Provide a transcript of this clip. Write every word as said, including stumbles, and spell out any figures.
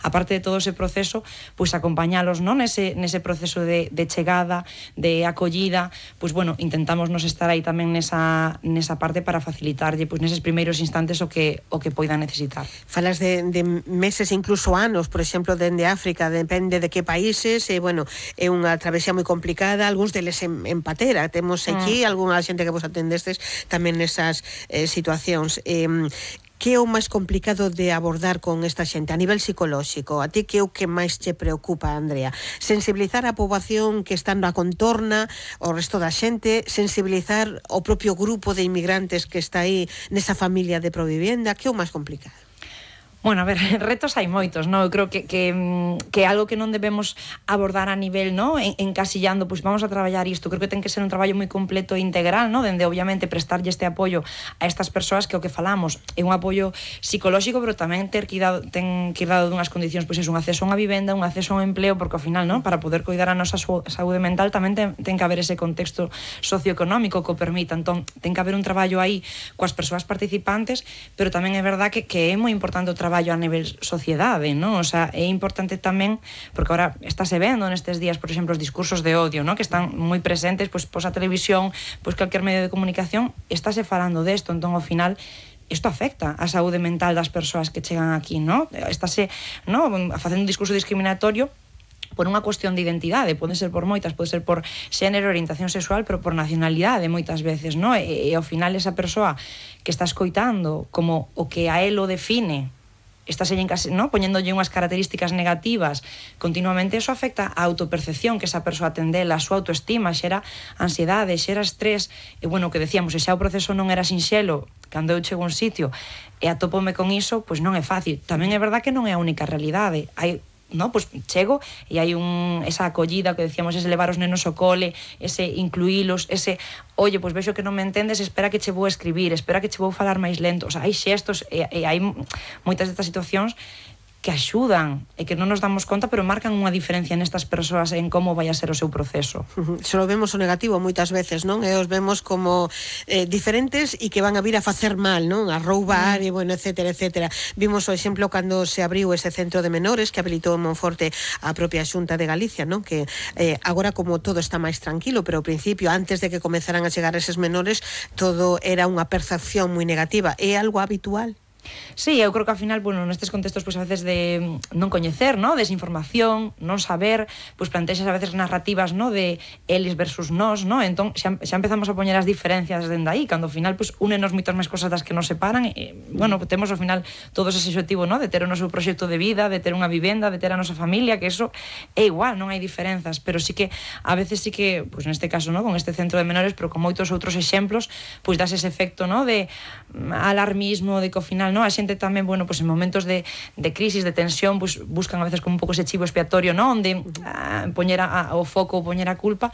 aparte de todo ese proceso, pois acompañalos, non, nese, nese proceso de, de chegada, de acollida, pois bueno, intentamos nos estar aí tamén nesa, nesa parte para facilitarlle, pois neses primeiros instantes o que, o que poidan necesitar. Falas de, de meses, incluso anos, por exemplo, dende África, depende de que países, e, bueno, é unha travesía moi complicada, algúns deles en, en patera, temos aquí, mm. algunha xente que vos atendestes tamén nesas eh, situacións. Eh, que é o máis complicado de abordar con esta xente a nivel psicolóxico? A ti que é o que máis te preocupa, Andrea? Sensibilizar a poboación que está na contorna, o resto da xente, sensibilizar o propio grupo de inmigrantes que está aí nesa familia de Provivienda, que é o máis complicado? Bueno, a ver, retos hai moitos, non? Eu creo que, que, que é algo que non debemos abordar a nivel, non? En, encasillando, pois vamos a traballar isto. Creo que ten que ser un traballo moi completo e integral, non? Dende, obviamente, prestarlle este apoio a estas persoas que o que falamos é un apoio psicolóxico, pero tamén ter que ir dado, ten que ir dado dunhas condicións, pois é un acceso a unha vivenda, un acceso a un empleo, porque ao final, non? Para poder cuidar a nosa saúde mental tamén ten, ten que haber ese contexto socioeconómico que o permita. Entón, ten que haber un traballo aí coas persoas participantes, pero tamén é verdad que, que é moi importante o traballo traballo a nivel sociedade, non? O sea, é importante tamén, porque agora estáse vendo nestes días, por exemplo, os discursos de odio, non? Que están moi presentes, pois, pois a televisión, pois calquer medio de comunicación, estáse falando desto, entón, ao final, isto afecta a saúde mental das persoas que chegan aquí, non? Estáse, non? Facendo un discurso discriminatorio por unha cuestión de identidade, pode ser por moitas, pode ser por xénero, orientación sexual, pero por nacionalidade moitas veces, non? E, e ao final esa persoa que está escoitando como o que a él o define, estás en casa, ¿no? Poñéndolle unhas características negativas continuamente, eso afecta a autopercepción que esa persoa tendela, a súa autoestima, xera ansiedade, xera estrés, e bueno, que decíamos, se xa o proceso non era sinxelo, cando eu chego a un sitio e atópome con iso, pois non é fácil. Tamén é verdad que non é a única realidade, hai no, pues chego e hai un, esa acollida que decíamos, ese levar os nenos ao cole, ese incluílos, ese, oye, pues vexo que non me entendes, espera que che vou escribir, espera que che vou falar máis lento. O sea, hai xestos e, e hai moitas destas situacións que axudan e que non nos damos conta, pero marcan unha diferencia nestas persoas en como vai a ser o seu proceso. Uh-huh. Solo vemos o negativo moitas veces, non? E os vemos como eh, diferentes e que van a vir a facer mal, non? A roubar, mm. e bueno, etcétera, etcétera. Vimos o exemplo cando se abriu ese centro de menores que habilitou en Monforte a propia Xunta de Galicia, non? Que eh, agora como todo está máis tranquilo, pero ao principio, antes de que comenzaran a chegar eses menores, todo era unha percepción moi negativa. É algo habitual? Sí, eu creo que ao final, bueno, nestes contextos, pois a veces de non coñecer, ¿no? Desinformación, non saber, pois plantexas a veces narrativas, ¿no? De eles versus nós, ¿no? Entón, xa, xa empezamos a poñer as diferencias dende aí, cando ao final, pois, únenos moitas máis cosas das que nos separan, e, bueno, temos ao final todos ese objetivo, ¿no? De ter o noso proxecto de vida, de ter unha vivenda, de ter a nosa familia, que eso é igual, non hai diferenzas, pero sí que, a veces sí que, pois neste caso, ¿no? Con este centro de menores, pero con moitos outros exemplos, pois das ese efecto, ¿no? De alarmismo, de que ao final, ¿no? A xente tamén, bueno, pues en momentos de, de crisis, de tensión, pues buscan a veces como un pouco ese chivo expiatorio, ¿no? Onde ah, poñer a, a, o foco, poñer a culpa,